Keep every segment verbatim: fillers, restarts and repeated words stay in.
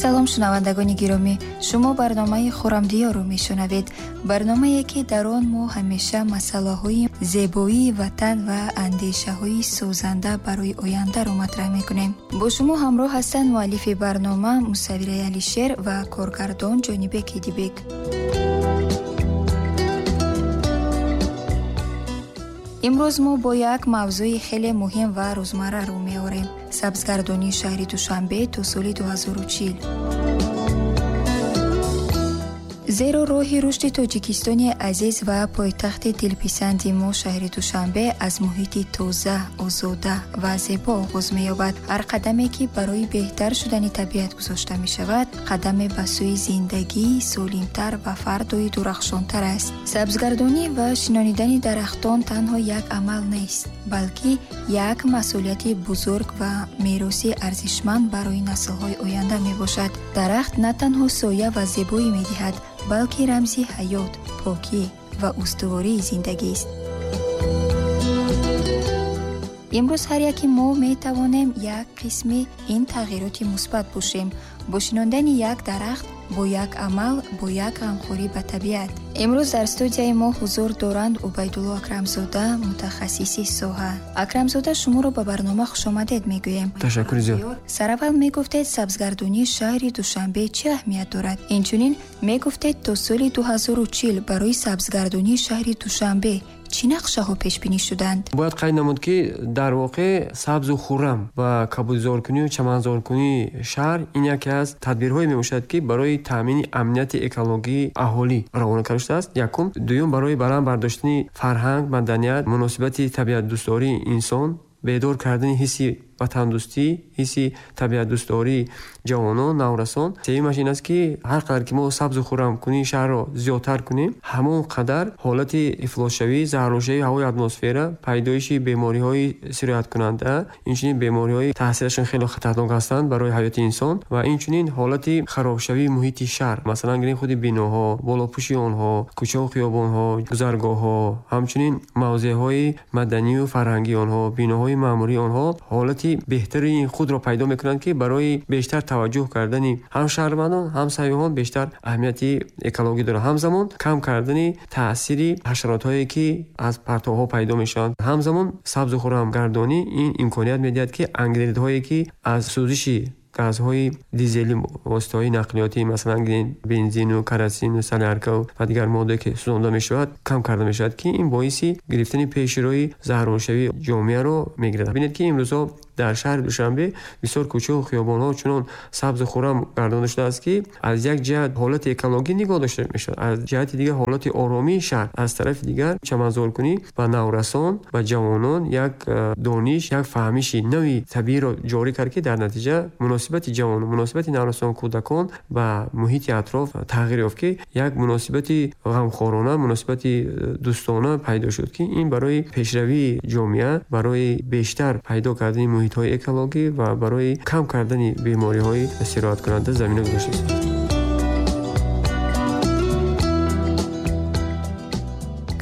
Салом, шунавандагони гиромӣ. Шумо барномаи Хуррамдиёрро мешунавед. Барномае, ки дар он мо ҳамеша масъалаҳои зебоии ватан ва андешаҳои созанда барои ояндаро матраҳ мекунем. Бо шумо ҳамроҳ ҳастанд муаллифи барнома Мусаввираи Алишер ва коргардон Ҷонибек Ҳидибек. Имрӯз мо бо як мавзӯи хеле муҳим ва рӯзмарра рӯ меорем: сабзгардонии шаҳри Душанбе то соли дуҳазору чил. Зеро роҳи рушди Тоҷикистони азиз ва пойтахти дилписанди мо шаҳри Душанбе аз муҳити тоза, озода ва зебо оғоз меёбад. Ҳар қадаме, ки барои беҳтар шудани табиат гузошта мешавад, қадаме ба сӯи зиндагии солимтар ва фардои дурахшонтар аст. Сабзгардонӣ ва шинонидани дарахтон танҳо як амал нест, балки як масъулияти бузург ва мероси арзишманд барои наслҳои оянда мебошад. Дарахт на танҳо соя ва зебоӣ медиҳад, балки рамзи ҳаёт, покӣ ва устувории зиндагист. Имрӯз ҳар яки мо метавонем як қисми ин тағйироти мусбат бошем бо шинондани як дарахт, бо як амал, бо як ғамхорӣ ба табиат. Имрӯз дар студияи мо ҳузур доранд Убайдулло Акрамзода, мутахассиси соҳа. Акрамзода, шуморо ба барнома хушомадед мегӯем. Ташаккури зиёд. Сараввал мегуфтед, сабзгардонии шаҳри Душанбе чӣ аҳамият дорад? Инчунин мегуфтед, то соли дуҳазору чил барои сабзгардонии шаҳри Душанбе чӣ нақшаҳо пешбинӣ шуданд? Бояд қайд намуд, ки дар воқеъ сабзу хуррам ва кабудизоркунию чаманзоркунии шаҳр ин яке аз тадбирҳое мебошад, ки барои таъмини амнияти экологии аҳолӣ равона карда шудааст. Якум. Дуюм, барои баланд бардоштани фарҳанг, маданият, муносибати табиатдӯстдории инсон, бедор кардани ҳисси ватандӯстӣ, ҳисси табиатдӯстдории ҷавонон, наврасон. Сеюмаш ин аст, ки ҳар қадар ки мо сабзу хуррамкунии шаҳрро зиёдтар кунем, ҳамон қадар ҳолати ифлосшавӣ, заҳролшавии ҳавои атмосфера, пайдоиши бемориҳои сирояткунанда, инчунин бемориҳои таъсирашон хеле хатарнок ҳастанд барои ҳаёти инсон ва инчунин ҳолати харобшавии муҳити шаҳр, масалан гирем худи биноҳо, болопӯши онҳо, кӯчаву хиёбонҳо, гузаргоҳҳо, ҳамчунин мавзеъҳои маданию фарҳангии онҳо, биноҳои маъмурии онҳо ҳолати беҳтари худро пайдо мекунанд, ки барои бештар таваҷҷӯҳ кардани ҳам шаҳрвандон, ҳам сайёҳон бештар аҳамияти экологӣ дорад. Ҳамзамон кам кардани таъсири ҳашаротҳое, ки аз партовҳо пайдо мешаванд. Ҳамзамон сабзу хуррамгардонӣ ин имконият медиҳад, ки ангидридҳое, ки аз сӯзиши газҳои дизелӣ, воситаҳои нақлиётӣ, масалан бензину, карасину, солярка ва дигар моддае, ки сӯзонда мешавад, кам карда мешавад, ки ин боиси гирифтани пешроҳи заҳролшавии ҷомеаро мегирад. Бинед, ки имрӯзҳо дар шаҳри Душанбе бисёр кӯчаву хиёбонҳо чунон сабзу хуррам гардонда шудааст, ки аз як ҷиҳат ҳолати экологӣ нигоҳ дошта мешавад, аз ҷиҳати дигар ҳолати оромии шаҳр, аз тарафи дигар чаманзоркунӣ ба наврасон ва ҷавонон як дониш, як фаҳмиши нави табииро ҷорӣ кард, ки дар натиҷа муносибати ҷавонон, муносибати наврасон, кӯдакон ба муҳити атроф тағйир ёфт, ки як муносибати ғамхорона, муносибати дӯстона пайдо шуд, ки ин барои пешравии ҷомеа, барои бештар пайдо кардани муҳитҳои экологӣ ва барои кам кардани бемориҳои сирояткунанда замина гузоштааст.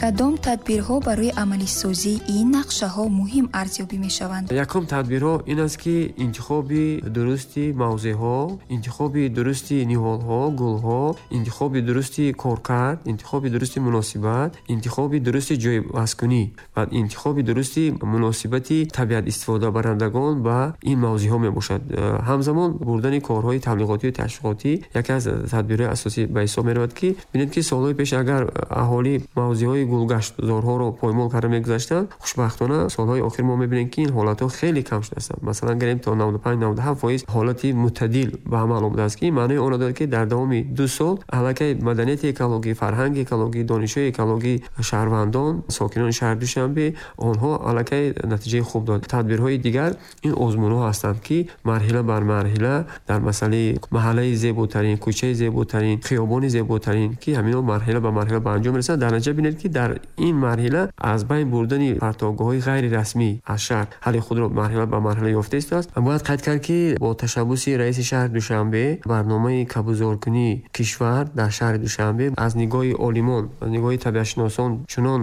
Кадом тадбирҳо барои амалисозии ин нақшаҳо муҳим арзёбӣ мешаванд? Якум тадбирҳо ин аст, ки интихоби дурусти мавзеъҳо, интихоби дурусти ниҳолҳо, гулҳо, интихоби дурусти коркард, интихоби дурусти муносибат, интихоби дурусти ҷойвазкунӣ ва интихоби дурусти муносибати табиат истифодабарандагон ба ин мавзеъҳо мебошад. Ҳамзамон бурдани корҳои таблиғотию ташвиқотӣ яке аз тадбирҳои асосӣ ба ҳисоб меравад, ки бинед, ки солҳои пеш агар аҳолӣ мавзеъҳои гулгаштзорҳоро поймол карда мегузаштанд, хушбахтона солҳои охир мо мебинем, ки ин ҳолатҳо хеле кам шудаастанд. Масалан гирем, то наваду панҷ наваду ҳафт фоиз ҳолати мӯътадил ба амал омадааст, ки маънои онро дорад, ки дар давоми ду сол аллакай маданияти экологӣ, фарҳанги экологӣ, донишҳои экологӣ шаҳрвандон, сокинони шаҳри Душанбе онҳо аллакай натиҷаи хуб дод. Тадбирҳои дигар ин озмунҳо ҳастанд, ки марҳила бар марҳила дар масъалаи маҳаллаи зеботарин, кӯчаи зеботарин, хиёбони зеботарин, ки ҳаминҳо марҳила ба марҳила ба анҷом мерасанд. Дар натиҷа бинед, ки дар Дар ин марҳила аз байн бурдани партовгоҳҳои ғайрирасмӣ аз шаҳр ҳалли худро марҳила ба марҳила ёфта истодааст. Бояд қайд кард, ки бо ташаббуси раиси шаҳри Душанбе барномаи кабудзоркунии кишвар дар шаҳри Душанбе аз нигоҳи олимон, аз нигоҳи табиатшиносон чунон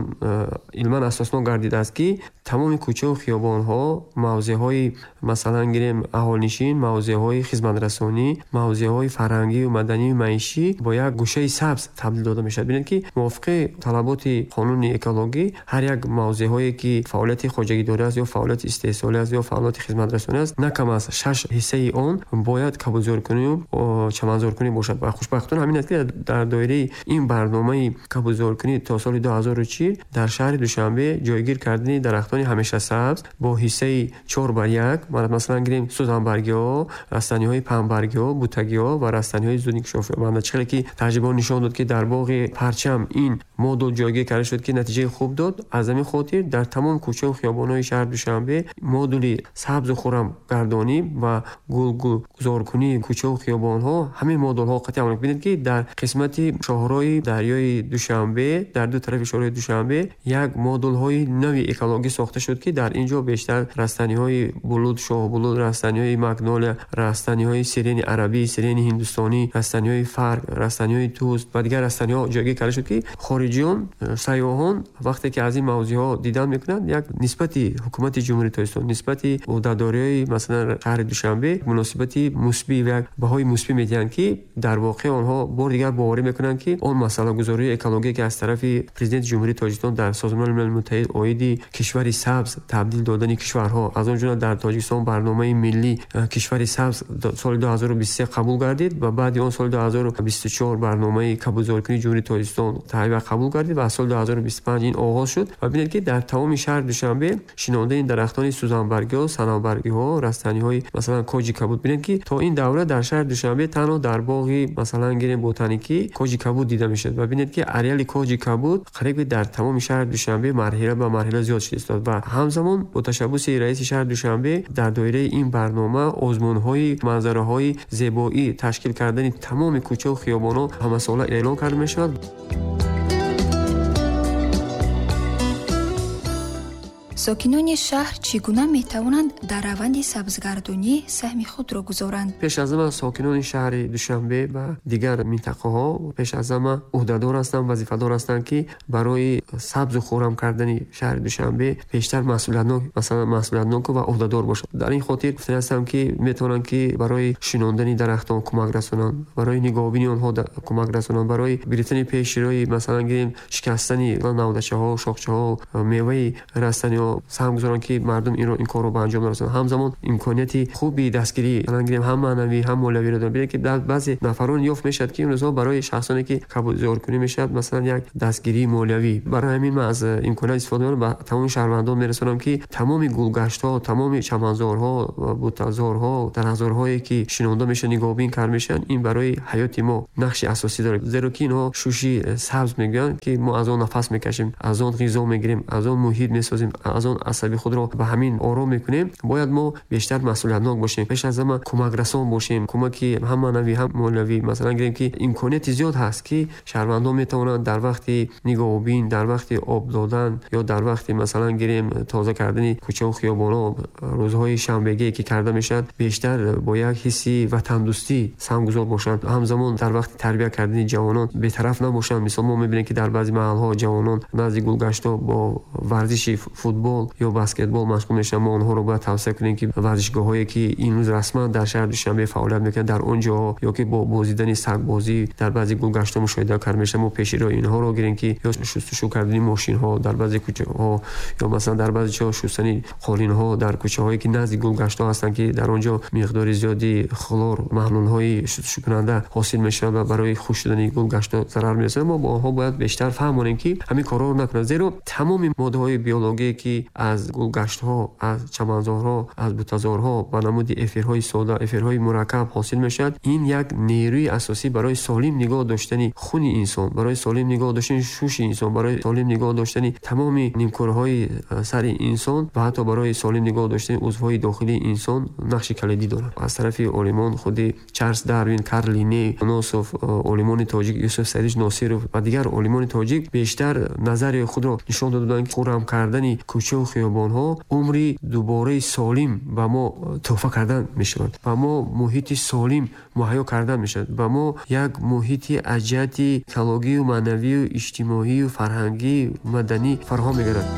илман асоснок гардидааст, ки тамоми кӯчаву хиёбонҳо, мавзеъҳои масалан гирем аҳолинишин, мавзеъҳои хизматрасонӣ, мавзеъҳои фарҳангию маданию маишӣ бо як гӯшаи сабз табдил дода мешавад. Бинед, ки мувофиқи талаботи қонуни экологӣ ҳар як мавзеъҳое ки фаъолияти хоҷагидорӣ аст ё фаъолияти истеҳсолӣ аст ё фаъолияти хизматрасонӣ аст, на кам аз шаш ҳиссаи он бояд кабудзоркунию чаманзоркунӣ бошад. Ва хушбахтона ҳамин аст, ки дар доираи ин барномаи кабудзоркунӣ то соли ду ҳазору чил дар шаҳри Душанбе ҷойгир кардани дарахтони ҳамешасабз бо ҳиссаи чор бар як, масалан гирем сӯзанбаргиҳо, растаниҳои паҳнбаргиҳо, бутагиҳо ва растаниҳои зудинкишофёбанда. Чӣ хеле ки таҷрибаҳо нишон дод, ки дар боғи Парчам ин модул ҷойгир карда шуд, ки натиҷаи хуб дод. Аз ҳамин хотир дар тамом кӯчаву хиёбонҳои шаҳри Душанбе модули сабзу хуррамгардонӣ ва гулгузоркунии кӯчаву хиёбонҳо ҳамин модулҳо қатъи амал. Бинед, ки дар қисмати шоҳрои дарёи Душанбе, дар ду тарафи шоҳрои Душанбе як модулҳои нави экологӣ сохта шуд, ки дар ин ҷо бештар растаниҳои булуд, шоҳбулуд, растаниҳои магнолия, растаниҳои сирени арабӣ, сирени ҳиндустонӣ, растаниҳои фарг, растаниҳои туз ва дигар растаниҳо ҷойгир карда шуд, ки хориҷиён, сайёҳон вақте ки аз ин мавзеъҳо дидан мекунанд, як нисбати ҳукумати Ҷумҳурии Тоҷикистон, нисбати ӯҳдадориҳои масалан шаҳри Душанбе муносибати мусбӣ ва як баҳои мусбӣ медиҳанд, ки дар воқеъ онҳо бор дигар боварӣ мекунанд, ки он масъалагузории экология, ки аз тарафи президенти Ҷумҳурии Тоҷикистон дар Созмони Милали Муттаҳид оиди кишвари сабз табдил додани кишварҳо, аз он ҷумла дар Тоҷикистон барномаи миллӣ кишвари сабз соли ду ҳазору бисту се қабул гардид ва баъди он соли ду ҳазору бисту чор барномаи кабудзоркунии Ҷумҳурии Тоҷикистон таҳия қабул гардид ва аз соли ду ҳазору бисту панҷ ин оғоз шуд. Ва бинед, ки дар тамоми шаҳри Душанбе шинондани дарахтони сӯзанбаргиҳо, санавбаргиҳо, растаниҳои масалан коҷи кабуд. Бинед, ки то ин давра дар шаҳри Душанбе танҳо дар боғи масалан гирем ботаникӣ коҷи кабуд дида мешуд ва бинед, ки ареали коҷи кабуд қариб дар тамоми шаҳри Душанбе марҳила ба марҳила зиёд шуда истод. Ва ҳамзамон бо ташаббуси раиси шаҳри Душанбе дар доираи ин барнома озмунҳои манзараҳои зебоӣ ташкил кардани тамоми кӯчаву хиёбонҳо ҳамасола эълон карда мешавад. Сокинони шаҳр чӣ гуна метавонанд дар раванди сабзгардонӣ саҳми худро гузоранд? Пеш аз ҳама сокинони шаҳри Душанбе ва дигар минтақаҳо пеш аз ҳама ӯҳдадор ҳастанд, вазифадор ҳастанд, ки барои сабзу хуррам кардани шаҳри Душанбе бештар масъулиятнок, масалан масъулиятнок ва ӯҳдадор бошанд. Дар ин хотир гуфтани ҳастам, ки метавонанд, ки барои шинондани дарахтон кӯмак расонанд, барои нигоҳубини онҳо кӯмак расонанд, барои гирифтани пешрои масалан гирем шикастани навдачаҳо, шохчаҳо, меваи растаниҳо саҳм гузоранд, ки мардум инро ин корро ба анҷом нарасонанд. Ҳамзамон имконияти хуби дастгирӣ масалан гирем ҳам маънавӣ ҳам молиявиро доранд. Бинед, ки дар баъзе нафарон ёфт мешавад, ки имрӯзҳо барои шахсоне ки кабудзоркунӣ мешавад масалан як дастгирии молиявӣ. Барои ҳамин ман аз имконият истифода мебарам ба тамоми шаҳрвандон мерасонам, ки тамоми гулгаштҳо, тамоми чаманзорҳо, бутазорҳо, дарахтзорҳое ки шинонда мешаванд, нигоҳубин карда мешаванд, ин барои ҳаёти мо нақши асосӣ дорад. Зеро ки инҳо шуши сабз мегӯянд, ки мо аз он нафас мекашем, аз он ғизо мегирем, аз он муҳит месозем, аз он асаби худро ба ҳамин ором мекунем. Бояд мо бештар масъулиятнок бошем, пеш аз ҳама кӯмакрасон бошем, кӯмаки ҳам маънавӣ ҳам молиявӣ. Масалан гирем, ки имконияти зиёд ҳаст, ки шаҳрвандон метавонанд дар вақти нигоҳубин, дар вақти об додан ё дар вақти масалан гирем тоза кардани кӯчаву хиёбонҳо рӯзҳои шанбегие ки карда мешавад, бештар бо як ҳисси ватандӯстӣ саҳмгузор бошанд. Ҳамзамон дар вақти тарбия кардани ҷавонон бетараф набошанд. Мисол мо мебинем, ки дар баъзе маҳалҳо ҷавонон назди гулгаштҳо бо варзиши футбол ё баскетбол машғул мешаванд. Мо онҳоро бояд тавсия кунем, ки варзишгоҳҳое ки имрӯз расман дар шаҳри Душанбе фаъолият мекунанд, дар он ҷоҳо ё ки бо бозидани сагбозӣ дар баъзе гулгаштҳо мушоҳида карда мешавад, мо пеши роҳи инҳоро гирем, ки ё шустушӯ кардани мошинҳо дар баъзе кӯчаҳо ё масалан дар баъзе ҷоҳо шустани қолинҳо дар кӯчаҳое ки назди гулгаштҳо ҳастанд, ки дар он ҷо миқдори зиёди хлор, маҳлулҳои шустушӯкунанда ҳосил мешавад ва барои хушк шудани гулгаштҳо зарар мерасонад. Мо бо онҳо бояд бештар фаҳмонем, ки ҳамин корҳоро накунанд, зеро тамоми моддаҳои биологие ки ки аз гулгаштҳо, аз чаманзорҳо, аз бутазорҳо ба намуди эфирҳои сода, эфирҳои мураккаб ҳосил мешавад, ин як нерӯи асосӣ барои солим нигоҳ доштани хуни инсон, барои солим нигоҳ доштани шуши инсон, барои солим нигоҳ доштани тамоми нимкурҳои сари инсон ва ҳатто барои солим нигоҳ доштани узвҳои дохилии инсон нақши калидӣ дорад. Аз тарафи олимон худи Чарлз Дарвин, Карл Линней, Носов, олимони тоҷик Юсуф Саидович Носиров ва дигар олимони тоҷик бештар назари худро нишон доданд, ки хуррам кардани кӯча ва хиёбонҳо умри дубораи солим ба мо туҳфа кардан мешавад, ба мо муҳити солим муҳайё кардан мешавад, ба мо як муҳити аз ҷиҳати экологию маънавию иҷтимоию фарҳангию маданӣ фароҳам мегардад.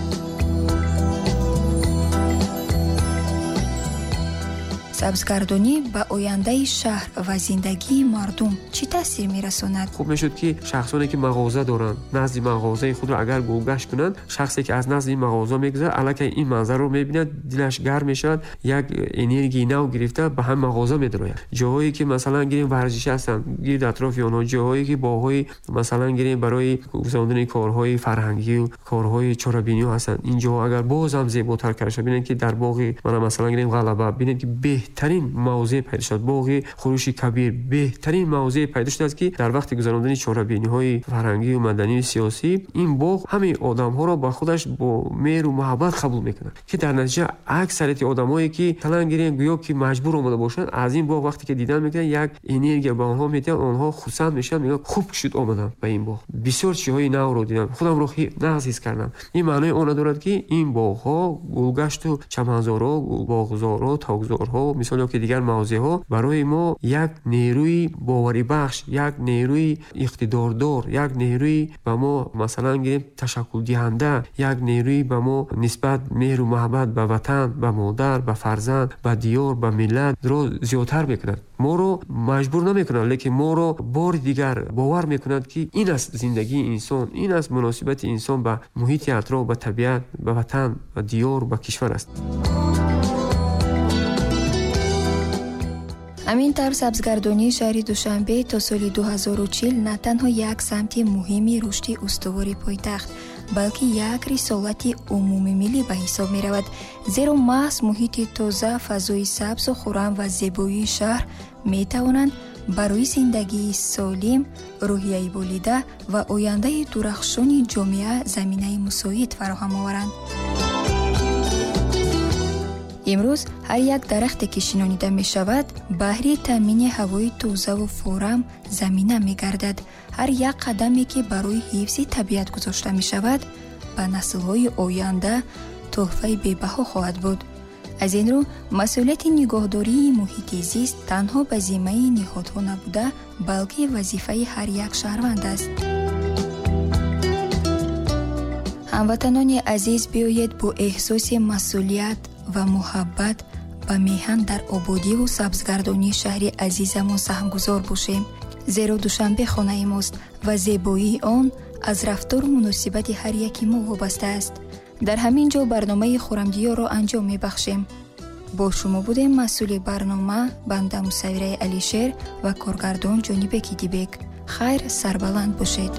Сабзгардонӣ ба ояндаи шаҳр ва зиндагии мардум чӣ таъсир мерасонад? Хуб мешуд, ки шахсоне ки мағоза доранд, назди мағозаи худро агар гулгашт кунанд, шахсе ки аз назди ин мағоза мегузарад, аллакай ин манзарро мебинад, дилаш гарм мешавад, як энергияи нав гирифта ба ҳам мағоза медарояд. Ҷоҳое ки масалан гирем варзишӣ ҳастанд, гирд атрофи онҳо, ҷоҳое ки боғҳои масалан гирем барои гузарондани корҳои фарҳангию корҳои чорабиниҳо ҳастанд, ин ҷоҳо агар боз ҳам зеботар карда шавад, бинед ки дар боғи мана масалан гирем Ғалаба, бинед ки беҳтарин мавзеъ пайдо шуд, боғи Хурӯши Кабир беҳтарин мавзеъ пайдо шудааст, ки дар вақти гузарондани чорабиниҳои фарҳангию маданию сиёсӣ ин боғ ҳамаи одамҳоро ба худаш бо меҳру муҳаббат қабул мекунад, ки дар натиҷа аксарияти одамҳое ки талан гирем гӯё ки маҷбур омада бошанд, аз ин боғ вақте ки дидан мекунанд, як энергия ба онҳо медиҳад, онҳо хурсанд мешаванд, мегӯянд хуб шуд омадам ба ин боғ, бисёр чизҳои навро дидам, худамро нағз ҳис кардам. Ин маънои онро дорад, ки ин боғҳо, гулгашту чаманзорҳо, боғзорҳо, токзорҳо, мисол ё ки дигар мавзеъҳо барои мо як нерӯи боварибахш, як нерӯи иқтидордор, як нерӯи ба мо масалан гирем ташаккулдиҳанда, як нерӯи ба мо нисбат меҳру муҳаббат ба ватан, ба модар, ба фарзанд, ба диёр, ба миллатро зиёдтар мекунад. Моро маҷбур намекунад, лекин моро бори дигар бовар мекунад, ки ин аст зиндагии инсон, ин аст муносибати инсон ба муҳити атроф, ба табиат, ба ватан, ба диёр, ба кишвар аст. Ҳамин тавр сабзгардонии шаҳри Душанбе то соли ду ҳазору чил на танҳо як самти муҳими рушди устувори пойтахт, балки як рисолати умумимиллӣ ба ҳисоб меравад, зеро маҳз муҳити тоза, фазои сабзу хуррам ва зебоии шаҳр метавонанд барои зиндагии солим, рӯҳияи болида ва ояндаи дурахшони ҷомеа заминаи мусоид фароҳам оваранд. Имрӯз ҳар як дарахте ки шинонида мешавад, баҳри таъмини ҳавои тозаву форам замина мегардад. Ҳар як қадаме ки барои ҳифзи табиат гузошта мешавад, ба наслҳои оянда тӯҳфаи бебаҳо хоҳад буд. Аз ин рӯ масъулияти нигоҳдории муҳити зист танҳо ба зиммаи ниҳодҳо набуда, балки вазифаи ҳар як шаҳрванд аст. Ҳамватанони азиз, биёед бо эҳсоси масъулият ва муҳаббат ба меҳан дар ободиву сабзгардонии шаҳри азизамон саҳмгузор бошем, зеро Душанбе хонаи мост ва зебоии он аз рафтору муносибати ҳар яки мо вобаста аст. Дар ҳамин ҷо барномаи Хуррамдиёрро анҷом мебахшем. Бо шумо будем масъули барнома банда Мусаввираи Алишер ва коргардон Ҷонибеки Дибек. Хайр, сарбаланд бошед.